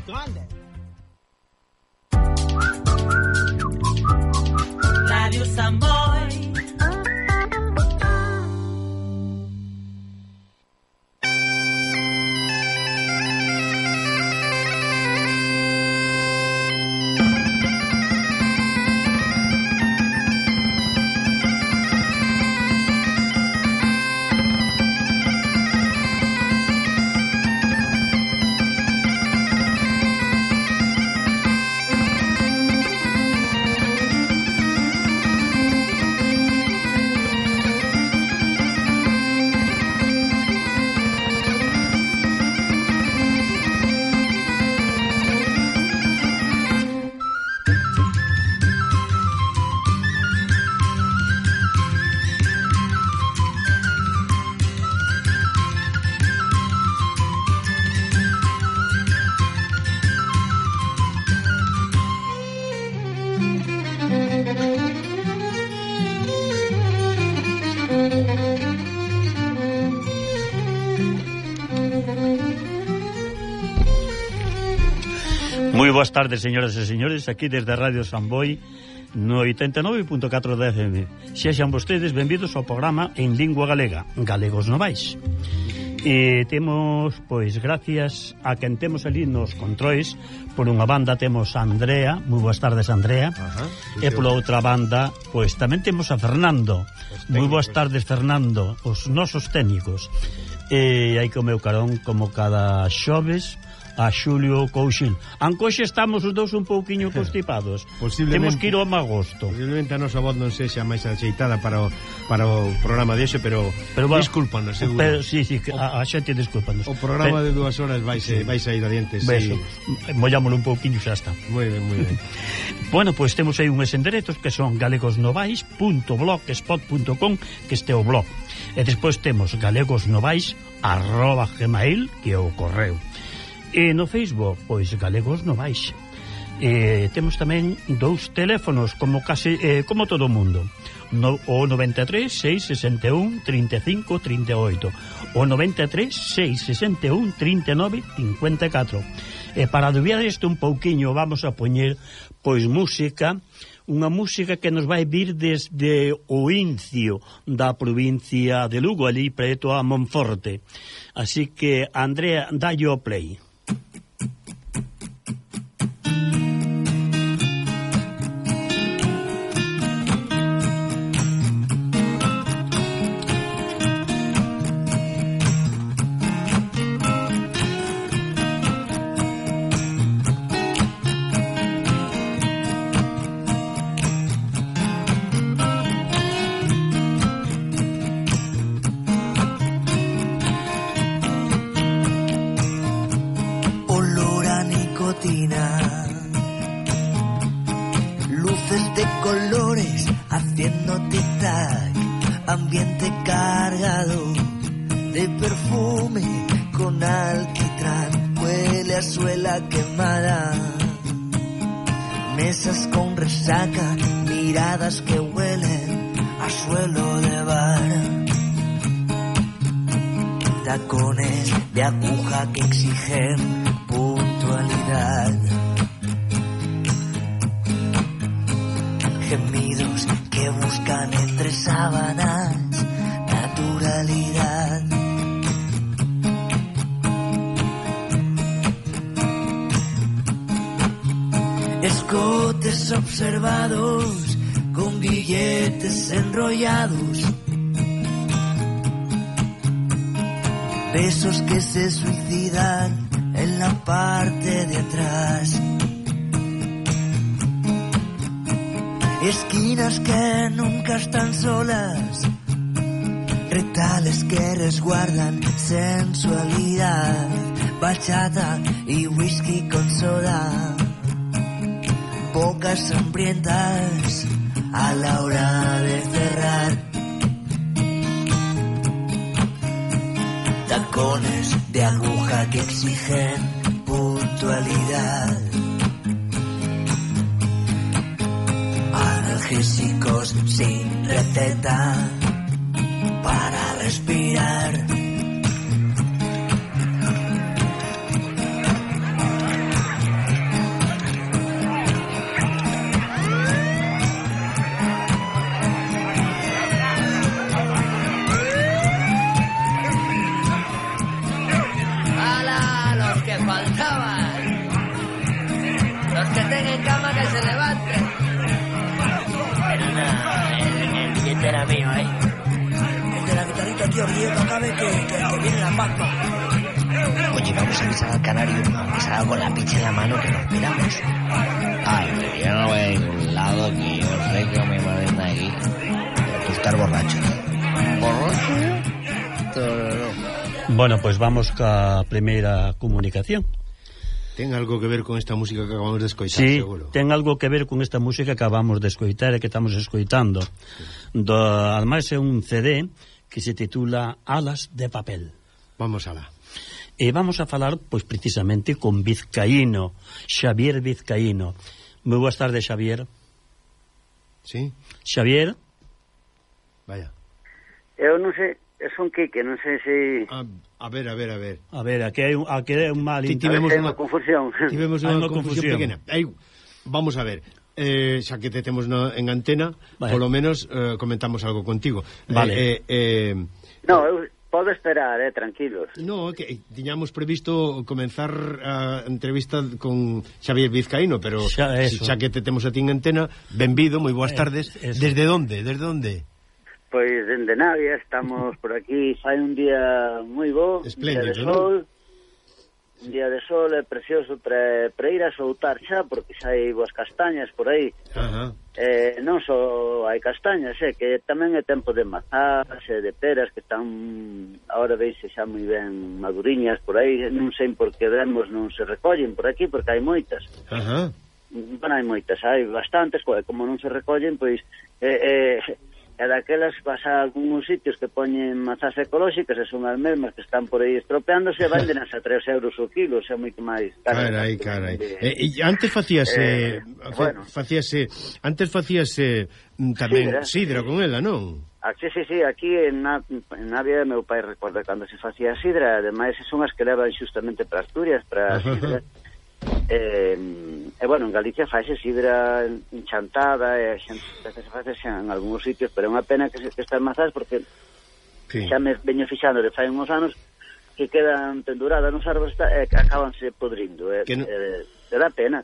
grande. Radio Samboy. Moi boas tardes, señoras e señores, aquí desde Radio Samboy no 89.4 da FM. Sexan vostedes benvidos ao programa en lingua galega, Galegos Novais. E temos, pois, gracias a quen temos ali nos controis, por unha banda temos a Andrea, moi boas tardes, Andrea. E pola outra banda, pois, tamén temos a Fernando. Moi boas tardes, Fernando, os nosos técnicos. E hai que o meu carón, como cada xoves, a Xulio Couchil. Ancoxe estamos os dous un pouquiño constipados. Temos que ir ao magosto. Posiblemente a nosa voz non sexa máis axeitada para o programa de hoxe, pero discúlpanos, seguro. Pero, sí, a xente discúlpanos. O programa de 2 horas vai sair adiante. Sí. Mollámoslo un pouquiño, xa está. Moi ben. Bueno, pois temos aí uns enderetos que son galegosnovais.blogspot.com, que este é o blog. E despois temos galegosnovais@gmail, que é o correo. E no Facebook, pois, Galegos Novais. Temos tamén dous teléfonos, como todo o mundo. O 93 661 35 38, o 93 661 39 54. E para adubiar isto un pouquiño vamos a poñer, pois, música, unha música que nos vai vir desde o Incio da provincia de Lugo, ali preto a Monforte. Así que, Andrea, dalle o play. Luces de colores haciendo tic-tac, ambiente cargado de perfume con alquitrán, huele a suela quemada, mesas con resaca, miradas que huelen a suelo de bar, tacones de aguja que exigen puntualidad, gemidos que buscan entre sábanas naturalidad. Escotes observados con billetes enrollados, besos que se suicidan en la parte de atrás, esquinas que nunca están solas, retales que resguardan sensualidad, bachata y whisky con soda, bocas hambrientas a la hora de cerrar, tacones de aguja que exigen puntualidad, analgésicos sin receta para respirar. Los que tengan cama que se levanten. Pero nada, el billete era mío, ¿eh? El de la guitarrita, tío, que acabe que viene la pampa. Oye, vamos a avisar al canario, aunque salga con la picha en la mano, que nos piramos. Ay, pero yo no voy a ningún lado, que yo sé que me van de aquí. Tú estás borracho, ¿Borracho? No. Bueno, pues vamos ca primeira comunicación. Ten algo que ver con esta música que acabamos de escoitar, Sí, seguro. ten algo que ver con esta música que acabamos de escoitar e que estamos escoitando. Ademais é un CD que se titula Alas de papel. Vamos alá. E vamos a falar, pois, precisamente con Vizcaíno, Xavier Vizcaíno. Moi boas tardes, Xavier. Sí? Xavier? Vaya. Eu non sei, son Quique, non sei se... A ver. A ver, aquí hai un mal... Tivemos unha confusión. Tivemos unha confusión pequena. Vamos a ver. Xa que te temos en antena, vale. Polo menos comentamos algo contigo. Vale. No, eu podo esperar, tranquilos. No, que tiñamos previsto comenzar a entrevista con Xavier Vizcaíno, pero xa que te temos a ti en antena, benvido, moi boas tardes. Desde onde? Pois dende Navia, estamos por aquí, fai un día moi bo, espléndido, día de sol, un día de sol é precioso para ir a soltar xa, porque xa hai boas castañas por aí. Ajá. Non só hai castañas, que tamén é tempo de mazás e de peras que están agora veise xa moi ben maduriñas por aí, non sei por que vemos non se recollen por aquí, porque hai moitas. Ajá. Bueno, hai moitas, hai bastantes, como non se recollen, pois e daquelas vas a algúns sitios que poñen mazás ecolóxicas e son as mesmas que están por aí estropeándose e vandenas a 3 euros o kilo, xa moito máis. Carai. E antes facíase antes facíase tamén sidra con ela, non? Sí, aquí en Navia meu pai recorda cando se facía sidra, ademais son as que levan xustamente para Asturias, para sidra. Bueno, en Galicia faise sidra enchantada e se faise en algúns sitios, pero é unha pena que estas mazás porque xa me veño fixando de fai uns anos que quedan penduradas nos árboles e que acabanse podrindo dá pena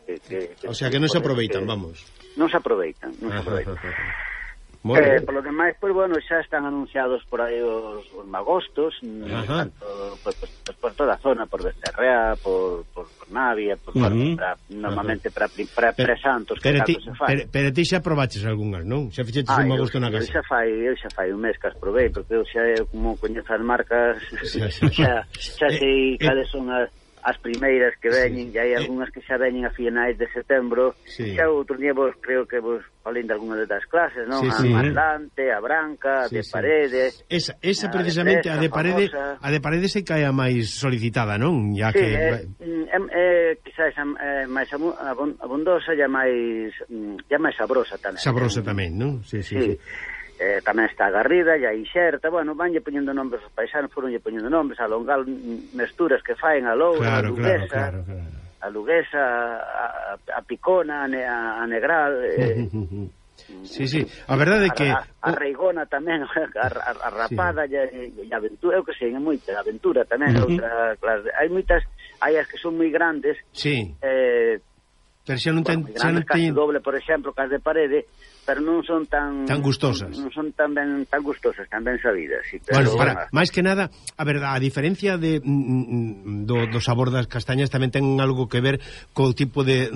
o sea que non se aproveitan, vamos. Non se aproveitan. Por lo demais, pois, bueno, xa están anunciados por aí os magostos, tanto por toda a zona, por Becerrea, por Navia, normalmente para presantos que tanto se fai. Pero ti xa probaches algunhas, non? Xa fixetes un magosto na casa? Eu xa fai un mes que as probei, porque eu xa, como coñezo as marcas, xa sei cales son as primeiras que veñen, e hai algunhas que xa veñen a finais de setembro. Xa outro día creo que vos falei de algunha das clases, non? A Atlante, a Branca, a de Parede. Esa precisamente, a de Parede se cae a máis solicitada, non? Ya que quizás máis abundosa e máis sabrosa tamén. Sabrosa tamén, non? Sí. Tamén está a Garrida e a Inxerta, bueno, vanlle poñendo nombres os paisanos, foronlle poñendo nombres a longal mesturas que faen a Loura, a Luguesa, a Luguesa, a Picona, a Negral, Sí, a verdade é que a Reigona tamén, a Rapada e a Aventura, eu que sei, é moita, a Aventura tamén, outra clase. Hai moitas, hai as que son moi grandes, pero xa non ten doble, por exemplo, que as de Parede, pero non son tan gustosas. Non son tan gustosas, tan ben sabidas. Sí, pero, máis que nada, a verdade, a diferencia do sabor das castañas tamén ten algo que ver co tipo de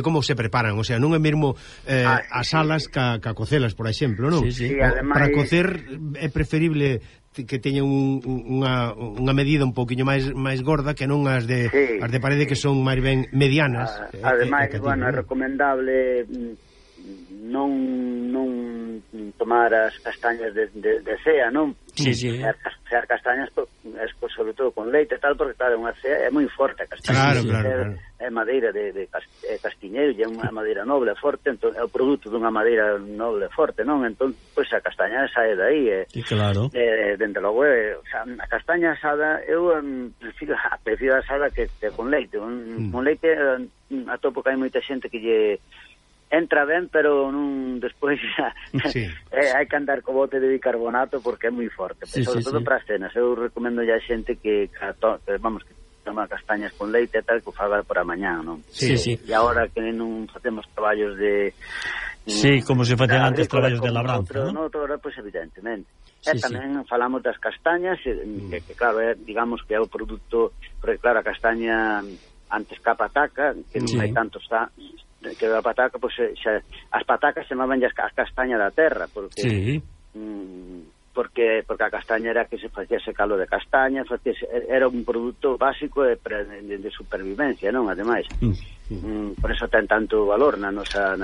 como se preparan, o sea, non é mesmo as alas ca cocelas, por exemplo, non? Sí, ademais, para cocer é preferible que teña unha medida un pouquiño máis gorda que non as de Parede, que son máis ben medianas. Ademais, bueno, é recomendable non tomar as castañas de cea, non? Cear castañas, sobre todo con leite e tal, porque claro, unha cea é moi forte a castaña. Claro. É madeira de castiñeiro, e é unha madeira noble forte, entón é o produto dunha madeira noble forte, non? Entón, pois a castaña sae dai. Claro. Dende logo, a castaña asada, eu prefiro a asada que con leite. Con leite atopo que hai moita xente que lle entra ben, pero non despois hai que andar co bote de bicarbonato porque é moi forte, sobre todo para as cenas. Eu recomendo a xente que tomar castañas con leite e tal, que o faga por a mañá, non? Sí. E agora que non facemos traballos de... Sí, como se facían antes traballos de labranza, non? Outra, pois evidentemente. E tamén falamos das castañas, que claro, digamos que é o produto, porque claro, a castaña antes que a pataca, que non hai tanto está, que a pataca, pois as patacas chamaban as castaña da terra, porque porque a castaña era que se facía ese calo de castaña, era un produto básico de supervivencia, non? Ademais, por eso ten tanto valor na nosa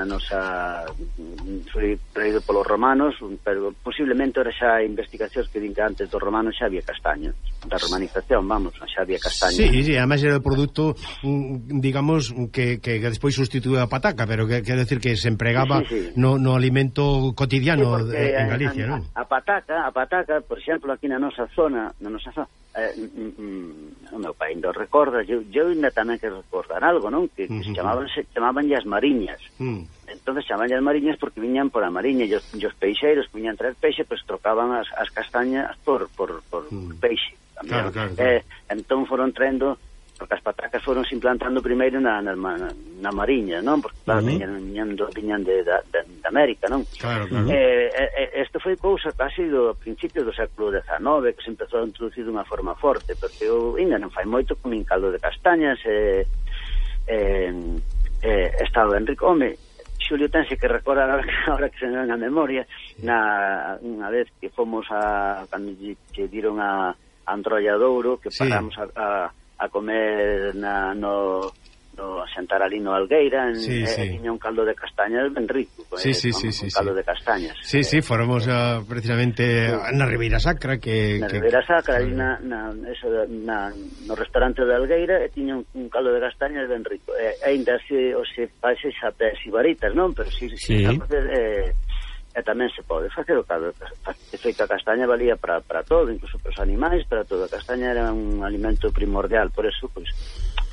foi traído polos romanos, pero posiblemente ahora xa investigacións que din que antes dos romanos xa había castaña, da romanización, vamos, xa había castaña. Sí, además era o produto, digamos, que despois sustituía a pataca, pero que quero decir que se empregaba no alimento cotidiano en Galicia, non? A pataca, por exemplo, aquí na nosa zona, o meu pai ainda recorda, eu ainda tamén que recordar algo, non? Que se chamaban as mariñas. Entonces chamaban as mariñas porque viñan por a mariña, e os peixeiros que viñan traer peixe, pues trocaban as castañas por peixe. Claro. Entón foron traendo, porque as patacas foron se implantando primeiro na mariña, non? Porque claro, viñan de América, non? Claro. Isto foi cousa casi do principio do século XIX, que se empezou a introducir de unha forma forte, porque eu ainda non fai moito comín caldo de castañas, estaba Enrico, Xulio tense que recordar ahora que se me ven a memoria, unha vez que fomos cando que diron a Antrolladouro, que paramos a comer no a sentar ali no Algueira, tiña un caldo de castañas ben rico, caldo de castañas. Sí, fóramos precisamente na Ribeira Sacra, na Ribeira Sacra, ali no restaurante de Algueira, e tiña un caldo de castañas ben rico. Ainda se fase xapés e varitas, non? Pero e tamén se pode facer o caldo de feita. A castaña valía para todo, incluso para os animais, para todo. A castaña era un alimento primordial, por eso, pois,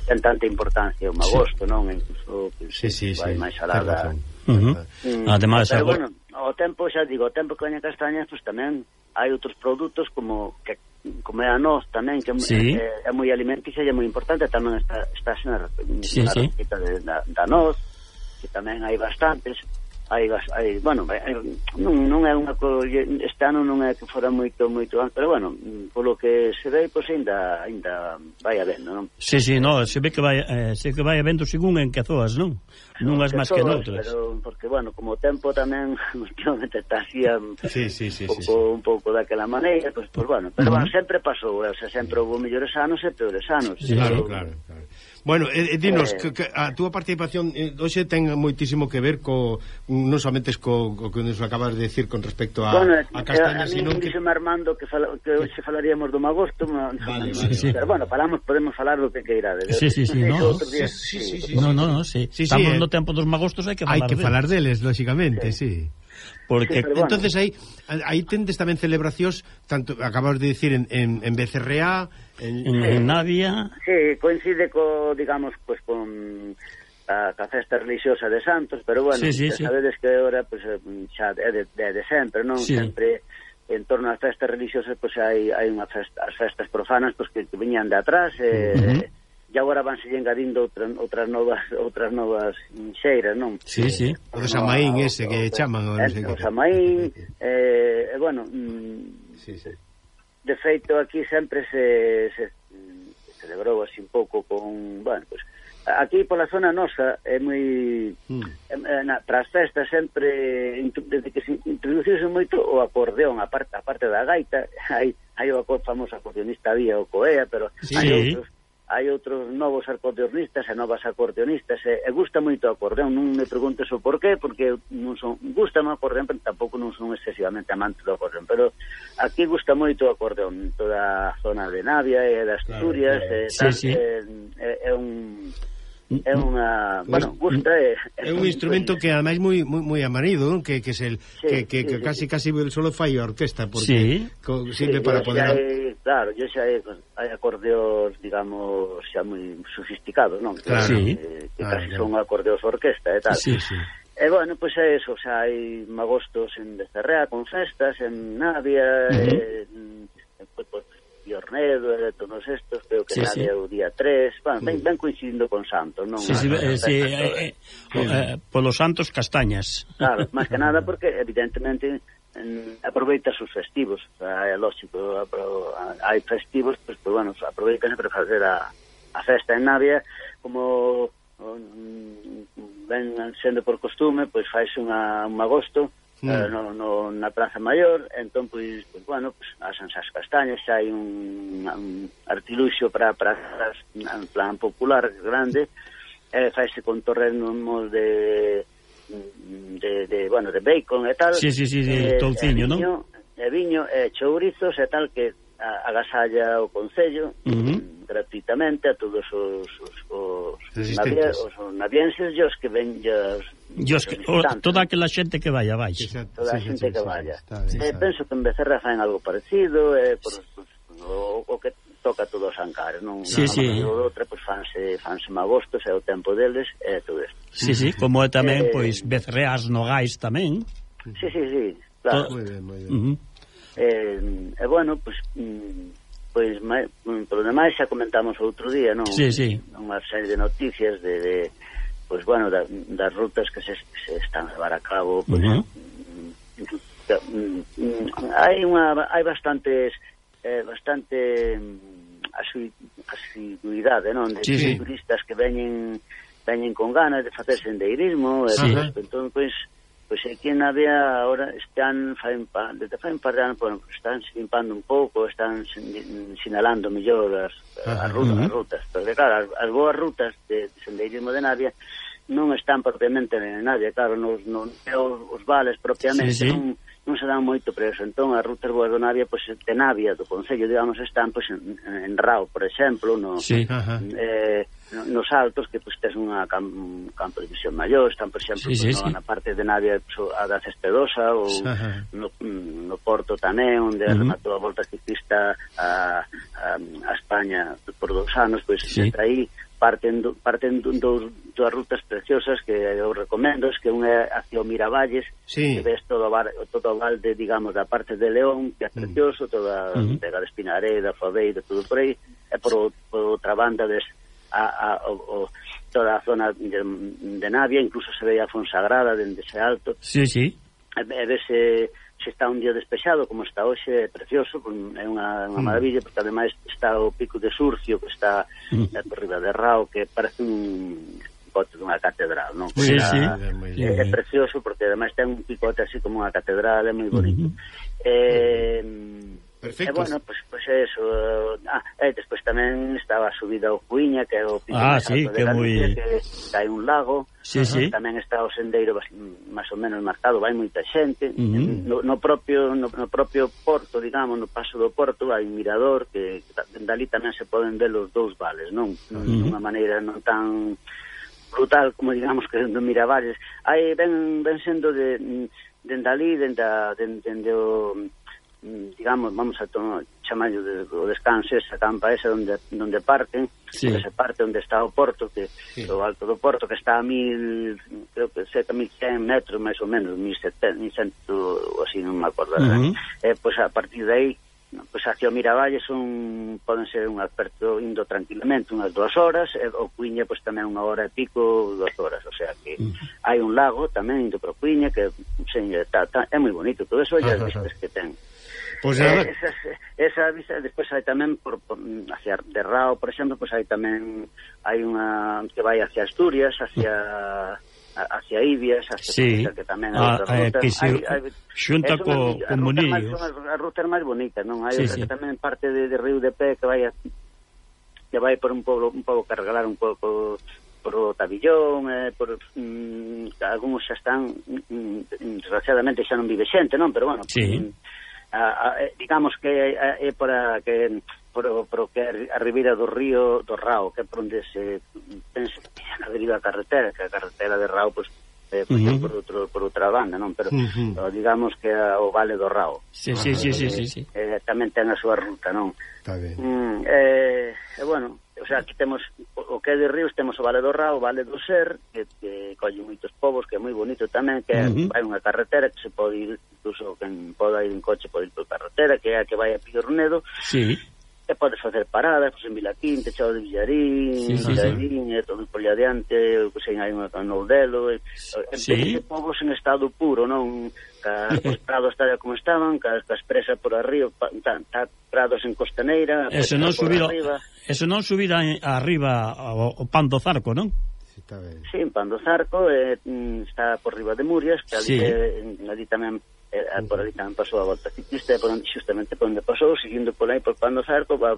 ten tanta importancia o magosto, non? Incluso vai máis alada. Ademais, pero bueno, o tempo, xa digo, o tempo que veña castañas, pois tamén hai outros produtos como é a noz tamén, que é moi alimenticia e é moi importante, tamén está na receta da noz, que tamén hai bastantes. Non é unha este ano non é que fora moito, pero bueno, polo que se ve, pois ainda vai habendo, non? Sí, no, se ve que vai habendo según en que zoas, non? Nunhas máis que noutras. Pero, porque, bueno, como o tempo tamén últimamente está así un pouco daquela maneira, pois, bueno, pero bueno, sempre pasou, o sea, sempre houve mellores anos e peores anos. Claro. Bueno, dinos, que a túa participación hoxe ten moitísimo que ver non somente co que nos acabas de decir con respecto a castañas, sino que... Dixeme Armando que hoxe falaríamos do magosto, pero bueno, podemos falar do que queirades. No, estamos no tempo dos magostos, hai que falar deles, lógicamente, sí. Porque entonces aí tendes tamén celebracións, tanto acabas de dicir en BCRA, en Navia. Sí, coincide digamos, pues con a festa religiosa de Santos, pero bueno, sabedes que ahora pues xa é de sempre, non? Sempre en torno ás festas religiosas pues hai as festas profanas pues que viñan de atrás, e agora vanse engadindo outras novas xeiras, non? Sí. O de Samaín ese que chaman, o Samaín, bueno, de feito aquí sempre se celebrou así un pouco con, bueno, pues aquí pola zona nosa é moi para as festas sempre, desde que se introduciuse moito o acordeón, a parte da gaita, hai o famoso acordeonista Vía o Coea, pero hai outros novos acordeonistas e novas acordeonistas, e gusta moito o acordeón. Non me preguntes o porqué, porque gusta o acordeón, pero tampouco non son excesivamente amante do acordeón, pero aquí gusta moito o acordeón, toda a zona de Navia e das Asturias, é unha, bueno, gusta, é un instrumento que ademais moi amanido, que casi solo fai a orquesta, porque sirve para poder... Claro, xa hai acordeos, digamos, xa moi sofisticados, non? Claro. Que casi son acordeos orquesta e tal. E bueno, pois é eso, xa hai magostos en Becerrea con festas, en Navia, e Piornedo e de todos estos, creo que sale o día 3, ben coincidindo con Santos, non? Polos Santos Castañas. Claro, máis que nada porque evidentemente aproveita os festivos, é lógico, hai festivos, pues bueno, aproveitan para facer a festa en Navia, como ven sendo por costume, pois faise un agosto na Praza Maior, entón, pois bueno, asan as castañas, xa hai un artiluxo para en plan popular grande, faise con torrenos de bacon e tal, touciño, non? E viño, e chourizos e tal, que agasalla o Concello gratuitamente a todos os navienses, os que ven toda aquela xente que vaya, toda a xente que vaya. Penso que en Becerra faen algo parecido, o que toca todos os ancares, non? Outra, pois fanse magostos, é o tempo deles, e todo isto. Sí, como é tamén, pois, becerreas nogais tamén. Sí, claro. Moi ben. E bueno, pois polo demais xa comentamos outro día, non? Sí. Unha serie de noticias pois bueno, das rutas que se están a levar a cabo, pois hai bastante asiduidade, non? De turistas que veñen con ganas de facer sendeirismo, entón, pois aquí en Navia ahora están desde fai un par de anos, están limpando un pouco, están sinalando mellor as rutas, porque claro, as boas rutas de sendeirismo de Navia non están propiamente en Navia, claro, os vales propiamente non se dan moito preso, entón as rutas boas de Navia, pois de Navia, do Concello, digamos, están pois en Rao, por exemplo, nos Altos, que pois tes un campo de visión maior, están, por exemplo, na parte de Navia a da Cespedosa, ou no Porto tamén, onde rematou a volta ciclista a España por 2 anos, pois aí parten dúas rutas preciosas que eu recomendo, que unha é hacia o Miravalles, que ves todo o valde, digamos, da parte de León, que é precioso, toda a Vega de Espinareda, Faveira, todo por aí, e por outra banda toda a zona de Navia, incluso se ve a Fonsagrada dende ese alto. E vese se está un día despexado, como está hoxe, é precioso, é unha maravilla, porque ademais está o Pico de Surcio, que está por riba de Rao, que parece un picote dunha catedral, non? É precioso, porque ademais ten un picote así como unha catedral, é moi bonito. Perfecto. E bueno, pois eso. E despois tamén estaba a subida ao Cuiña, que é o pico máis alto de Galicia, que hai un lago. Tamén está o sendeiro máis ou menos marcado, vai moita xente. No propio porto, digamos, no paso do porto, hai un mirador que dali tamén se poden ver os dous vales, non? Dunha maneira non tan brutal como, digamos, que do Miravalles. Aí ven sendo dende ali, dende o, digamos, vamos a chamarlo o descanso, esa campa esa onde parten, onde se parte, onde está o porto, que o alto do porto, que está a 1100 metros máis ou menos, 1100 ou así, non me acordo. Pois a partir de aí, pois hacia o Miravalles poden ser un aperto indo tranquilamente unhas 2 horas, e o Cuiña pois tamén 1 hora e pico, 2 horas, o sea que hai un lago tamén indo para o Cuiña, que é moi bonito todo eso, e as vistas que ten. Pois esa vista, despois hai tamén hacia de Rao, por exemplo, pois hai tamén unha que vai hacia Asturias, hacia Ibias, que tamén hai outra ruta. Que se xunta co Munillos. Son as rutas máis bonitas, non? Hai outra que tamén parte de Río de Pé, que vai por un pouco carregar un pouco por o Tabillón, algúns xa están, desgraciadamente xa non vive xente, non? Pero bueno, digamos que é por que a ribeira do río do Rao, que é por onde se pensa a deriva a carretera, que a carretera de Rao pois por outra banda, non? Pero digamos que é o Vale do Rao. Tamén ten a súa ruta, non? Está ben. Bueno, o sea, aquí temos o que é de ríos, temos o Vale do Rao, o Vale do Ser, que colle moitos povos, que é moi bonito tamén, que hai unha carretera que se pode ir, incluso quen poda ir en coche pode ir por carretera, que é a que vai a Piornedo. e podes facer paradas en Vilaquinte, Chao de Villarín, Villarín, todo por allá adiante, hai unha Noudelo, povos en estado puro, non? Os prados tal como estaban, cas presas por arriba, prados en costaneira, eso non subir arriba o Pan do Zarco, non? Sí, en Pan do Zarco, está por riba de Murias, que ali tamén por ali tamén pasou a volta ciclista, justamente por onde pasou, seguindo por aí por Pan do Zarco, va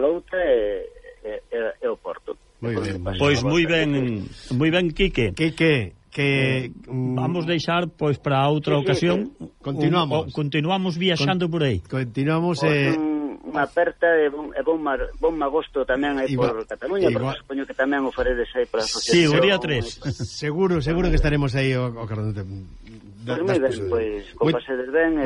Louta e o Porto. Pois moi ben, Quique. Que vamos deixar pois para outra ocasión. Continuamos viaxando por aí. Continuamos unha aperta e bon magosto tamén aí por Cataluña, porque supoño que tamén o faredes aí para a asociación. Sí, o día 3. Seguro que estaremos aí o Cardote. Pois moi ben, pois como pasedes ben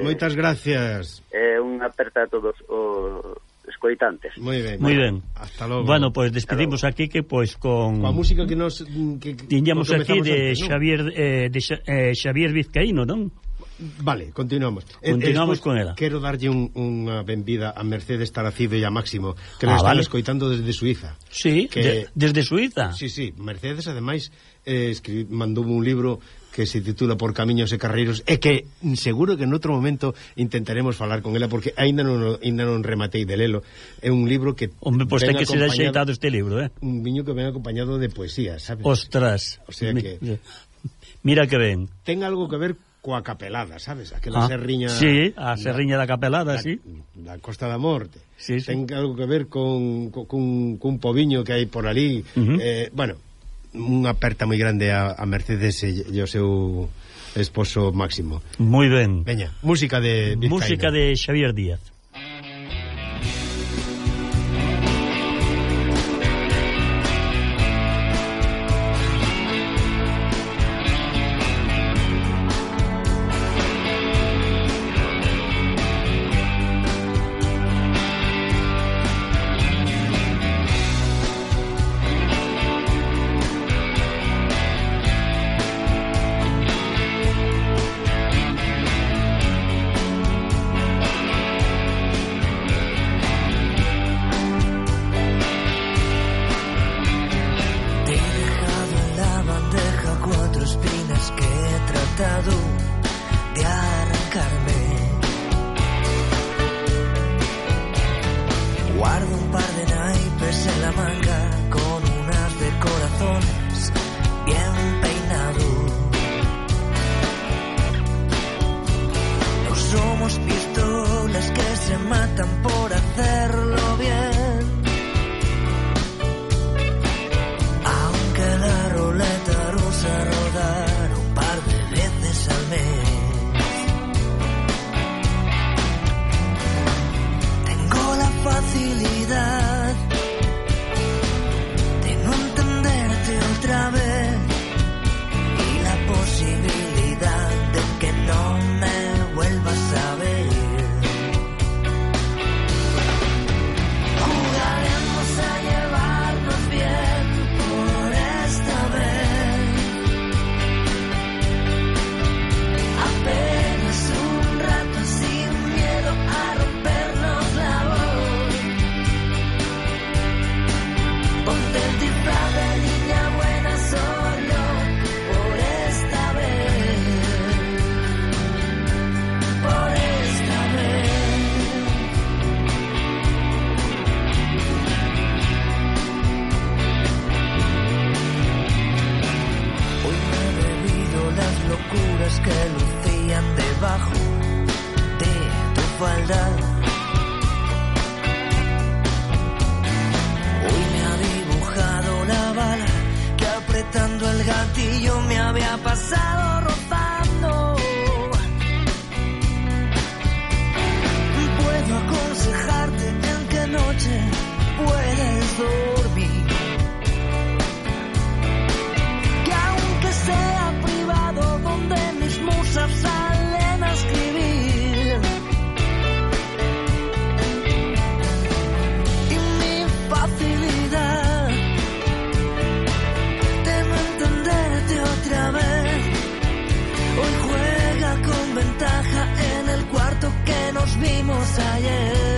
moitas gracias. Unha aperta a todos os escoitantes. Moi ben. Hasta logo. Bueno, pois despedimos aquí que pois con a música que nos tiñamos aquí de Xavier Vizcaíno, non? Vale, continuamos con ela. Quero darlle unha benvida a Mercedes Taracido e a Máximo, que nos están escoitando desde Suiza. Sí, desde Suiza. Sí, Mercedes ademais mandoume un libro que se titula Por Camiños e Carreiros, e que seguro que en outro momento intentaremos falar con ela, porque aínda non rematei de lelo. É un libro que pois ten que ser axeitado este libro, un viño que ven acompañado de poesía, sabes? Ostras, o sea que mira que ben. Ten algo que ver coa Capelada, sabes? Aquela serriña... Sí, a serriña da Capelada, sí. Da Costa da Morte. Sí. Ten algo que ver cun poviño que hai por ali. Bueno, unha aperta moi grande a Mercedes e o seu esposo Máximo. Moi ben. Veña, música de Vizcaíno. Música de Xavier Díaz. Vimos ayer.